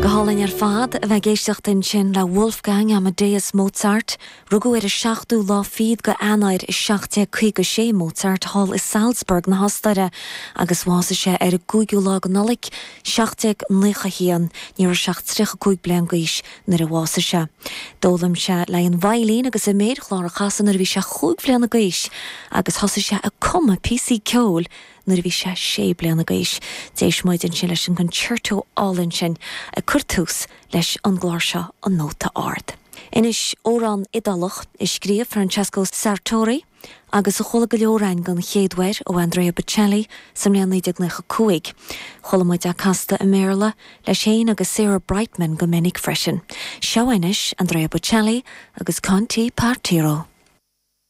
Go hálainn ar fad a bheith ag éisteacht ansin le Wolfgang Amadeus Mozart. Rugadh ar an seachtú lá fichead go Eanáir i 1756 Mozart thall i Salzburg na hOstaire agus bhásaigh sé ar an gcúigiú lá go Nollaig 1791. Ní raibh sé ach 35 bliain d'aois nuair a bhásaigh sé. D'fhoghlaim sé le an veidhlín agus an méarchlár a chasadh nuair a bhí sé chúig bhliana d'aois agus thosaigh sé ag cumadh píosaí ceoil nuair a bhí sé sé bliana d'aois. D'éist muid ansin leis an gconcerto álainn sin ag cur tús leis an gclár seo, An Nóta Ard. Anois, amhrán Iodálach a scríobh Francesco Sartori agus a chuala go leor againn den chéad uair ó Andrea Bocelli sa mbliain 1995. Chuala muid é casta i mBéarla leis féin agus Sarah Brightman go minic freisin. Seo anois Andrea Bocelli agus Con te partirò.